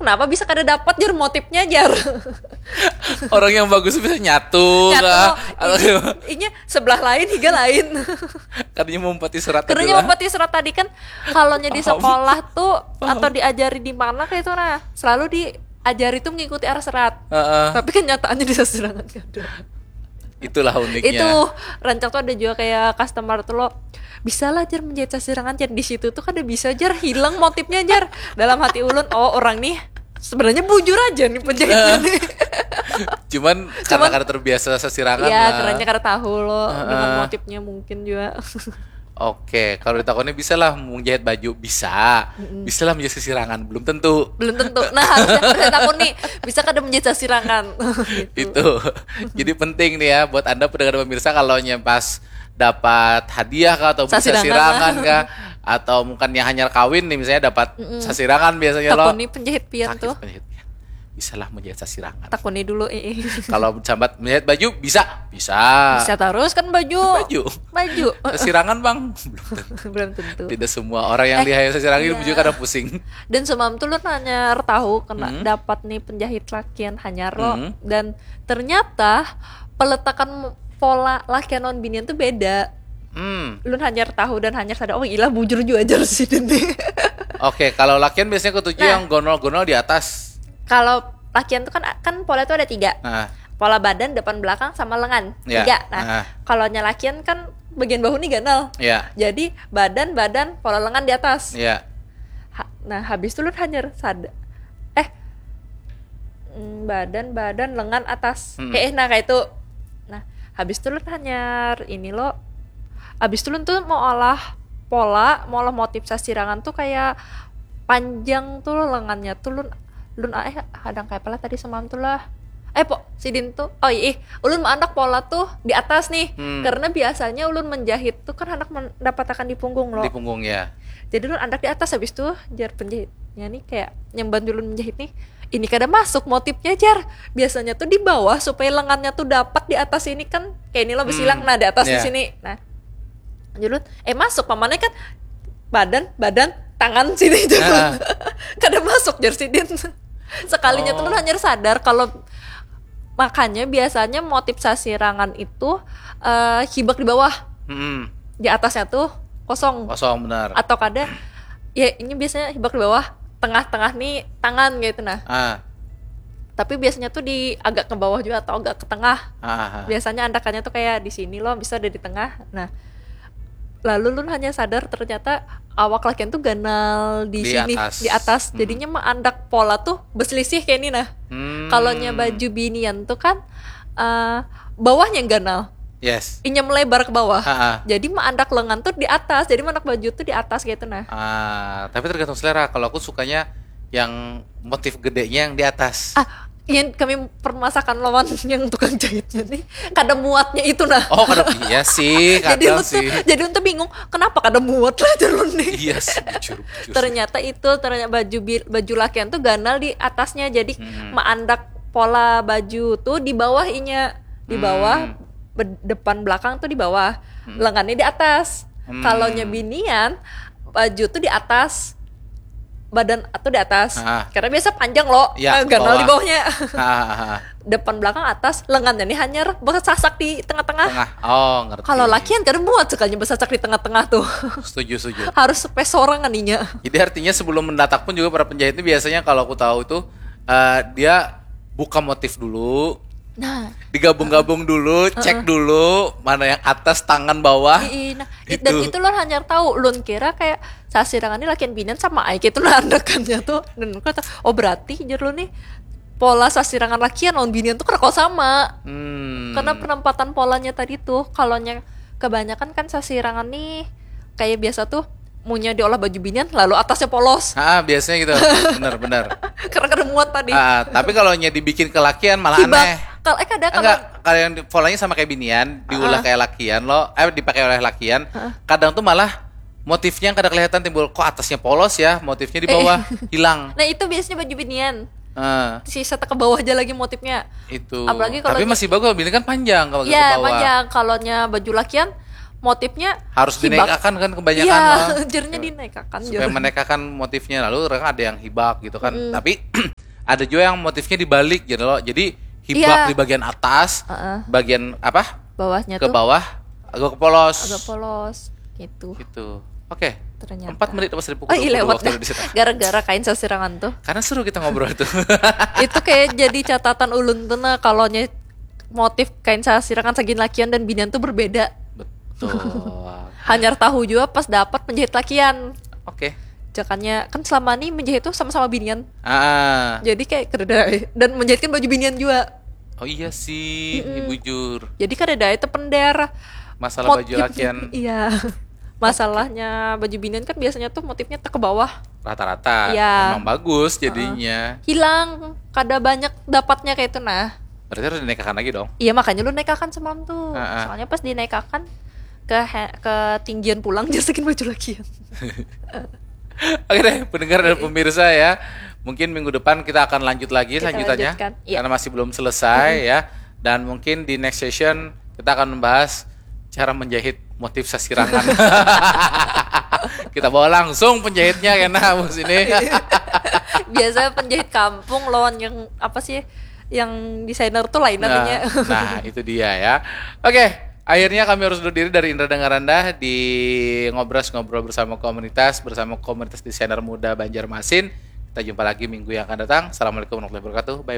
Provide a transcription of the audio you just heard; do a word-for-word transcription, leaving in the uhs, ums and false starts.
Kenapa bisa kada dapat, jar, motifnya, jar? Orang yang bagus bisa nyatu Nyatu, kah? Inya sebelah lain, higa lain. Katanya mau empati serat tadi Karena lah. Empati serat tadi kan, kalau di sekolah tuh atau diajari di mana kayak itu, nah, selalu diajari tuh mengikuti arah serat. Heeh. Tapi kenyataannya di sasirangan kada. Itulah uniknya. Itu rancak tuh ada juga kayak customer tuh lo, "Bisa lah, jar, menjahit sasirangan, jar." Di situ tuh kada bisa, jar, hilang motifnya, jar. Dalam hati ulun, "Oh, orang nih sebenarnya bujur aja nih penjahitnya nih." Cuman karena Cuman- karena terbiasa sasirangan Ya, lah. Kerennya kada tahu lo dengan Heeh. Motifnya mungkin juga. Oke, kalau ditakoni bisa lah menjahit baju, bisa. Bisa lah menjahit sasirangan, belum tentu. Belum tentu. Nah, harusnya kita takuni, bisa kada menjahit sasirangan? Gitu. Itu. Jadi penting nih ya buat Anda pendengar pemirsa, kalau nya pas dapat hadiah kah atau beli Sasirangan sasirangan lah. Kah, atau mungkin yang hanyar kawin nih misalnya dapat sasirangan biasanya lo. Takuni penjahit pian Sakit tuh. penjahit ya. Bisalah menjahit sasirangan. Takuni dulu, ih. Kalau sambat menjahit baju bisa, bisa. Bisa terus kan baju. Baju. Baju. Sasirangan bang, belum tentu. Belum tentu. Tidak semua orang yang Eh, dihayal sasirangan iya. Juga kadang pusing. Dan semalam tuh lu nanya tahu kena Hmm. dapat nih penjahit lakian hanyar lo Hmm. dan ternyata peletakan pola lakian lawan binian tuh beda. Hmm. Lu hanyar tahu dan hanyar sadar, oh ilah bujur juga aja sih ini. Oke, kalau lakian biasanya ketujuh Nah. Yang gonol-gonol di atas. Kalau lakian tuh kan kan pola tuh ada tiga. Nah, Pola badan, depan belakang, sama lengan. Ya. Tiga. Nah, Ah. kalau nya lakian kan bagian bahu nih ganal. Ya. Jadi badan, badan, pola lengan di atas. Ya. Ha- nah, habis itu lu hanyar sadar. Eh, mm, badan, badan, lengan atas. Hmm. Eh, eh, nah kayak itu. Nah, habis itu lu hanyar ini lo. Habis itu lu tuh mau olah pola, mau olah motif sasirangan tuh kayak panjang tuh lengannya tuh lun lun ah, eh hadang kayak apa lah tadi semalam tuh lah. Eh po sidin tuh, oh ih, ulun maandak pola tuh di atas nih. Hmm. Karena biasanya ulun menjahit tuh kan anak mendapatakan di punggung lo. Di punggung ya. Jadi ulun andak di atas, habis tuh jar penjahitnya nih kayak nyamban ulun menjahit nih, ini kada masuk motifnya jar. Biasanya tuh di bawah supaya lengannya tuh dapat di atas ini kan kayak ini lo besilang, Hmm. Nah di atas di Ya. Sini. Nah, jadi ulun, eh masuk pamannya kan badan, badan, tangan sini jar. Ah. Kada masuk jar sidin. Sekalinya tuh Oh. ulun hanyar sadar kalau makanya biasanya motif sasirangan itu eh, hibak di bawah, Hmm. di atasnya tuh kosong. Kosong benar. Atau kada, ya ini biasanya hibak di bawah, tengah-tengah nih tangan gitu nah. Ah. Tapi biasanya tuh di agak ke bawah juga atau agak ke tengah. Ah, ah, ah. Biasanya andakannya tuh kayak di sini loh, bisa ada di tengah. Nah, lalu lun hanya sadar ternyata awak lakian tuh ganal di, Di sini, atas. Di atas. Hmm. Jadinya mah andak pola tuh berselisih kayak ini nah. Hmm. Kalau nya baju binian tuh kan eh, bawahnya yang ganal. Yes. Inya melebar ke bawah. Ha, ha. Jadi mah andak lengan tuh di atas. Jadi mah andak baju tuh di atas gitu nah. Ah, tapi tergantung selera. Kalau aku sukanya yang motif gedenya yang di atas. Ah, yang kami permasakan lawan yang tukang jahitnya nih, kada muatnya itu nah. Oh, kada iya sih, Jadi kadang lu tuh, sih. Jadi untuk bingung kenapa kada muat lah jalur nih. Iya sih, bujur, bujur. Ternyata itu ternyata baju bil- baju lakian tuh ganal di atasnya, jadi Hmm. maandak pola baju tuh di bawah inya, di bawah Hmm. be- depan belakang tuh di bawah, Hmm. lengannya di atas. Hmm. Kalau nya binian, baju tuh di atas, badan tuh di atas. Ah. Karena biasa panjang loh, Ya, eh, ganal di bawah. Bawahnya. Ah, ah, ah. Depan belakang atas, lengannya nih hanyar bersasak di tengah-tengah. Tengah. Oh, ngerti. Kalau lakian kada muat sekalinya bersasak di tengah-tengah tuh. Setuju, setuju. Harus sepesorangan inya. Jadi artinya sebelum mendatak pun juga para penjahit ini biasanya kalau aku tahu tuh eh, dia buka motif dulu, Nah, digabung-gabung dulu, cek dulu mana yang atas, tangan, bawah. Ii, nah, Gitu. Dan itu lun hanyar tahu, lun kira kayak sasirangan ini lakian binian sama aja itu nah andakannya tuh. Dan lun kata, oh berarti jar lun nih pola sasirangan lakian lawan binian tuh kada kawa sama. Hmm. Karena penempatan polanya tadi tuh, kalau nya kebanyakan kan sasirangan nih kayak biasa tuh munya diolah baju binian lalu atasnya polos. Ah, biasanya gitu. Benar, benar. Karena kada muat tadi. Ah, tapi kalau nya dibikin ke lakian malah Hibak. Aneh. Kalau eh kada kalau Enggak, kalau yang di- polanya sama kayak binian, diulah Ah. Kayak lakian lo, eh dipakai oleh lakian, kadang tuh malah motifnya yang kada kelihatan timbul, kok atasnya polos ya, motifnya di bawah hilang. Nah, itu biasanya baju binian. Eh, Sisa ke bawah aja lagi motifnya. Itu. Apalagi kalau Tapi nya- masih bagus, bini kan panjang kalau gitu Ya, ke bawah. Panjang. Kalau nya baju lakian motifnya Harus hibak. Dinaikakan kan kebanyakan Iya, lah. Jernya dinaikakan. Supaya menaikakan motifnya, lalu orang ada yang hibak gitu kan. Tapi Ada juga yang motifnya dibalik gitu loh. Jadi hibak Iya. di bagian atas, Heeh. bagian apa? Bawahnya Ke tuh bawah, agak polos. Agak polos gitu. Gitu. Oke. Ternyata. Empat menit pas dari pukul Oh iya, dua puluh lewat waktu dah. Indonesia Tengah. Gara-gara kain sasirangan tuh. Karena seru kita ngobrol tuh. Itu kayak jadi catatan ulun tuh, nah, kalau nyait motif kain sasirangan sagin lakian dan binian tuh berbeda. Betul. Hanyar tahu juga pas dapat menjahit lakian. Oke. Jakannya kan selama ini menjahit tuh sama-sama binian. Ah. Jadi kayak kedai dan menjahit kan baju binian juga. Oh iya sih, ini bujur. Jadi kadada itu pendar. Masalah Pot- baju lakian. Iya. Masalahnya baju binian kan biasanya tuh motifnya tak ke bawah. Rata-rata. Iya. Emang bagus jadinya. Hilang, kada banyak dapatnya kayak itu nah. Berarti harus dinaikakan lagi dong. Iya, makanya lu naikakan semalam tuh. Heeh. Soalnya pas dinaikakan ke he- ketinggian pulang, dia saking baju lakian. Oke deh, pendengar dan pemirsa ya. Mungkin minggu depan kita akan lanjut lagi Kita lanjutannya. lanjutkan, iya. Karena masih belum selesai ya. Dan mungkin di next session kita akan membahas cara menjahit motif sasirangan. Kita bawa langsung penjahitnya kena bos ini. Biasa penjahit kampung lawan yang apa sih, yang desainer tuh lain Nah, namanya. Nah, itu dia ya. Oke, akhirnya kami harus undur diri dari Indra Dengar Rendah di Ngobras Ngobrol Bersama Komunitas, bersama komunitas desainer muda Banjarmasin. Kita jumpa lagi minggu yang akan datang. Assalamualaikum warahmatullahi wabarakatuh.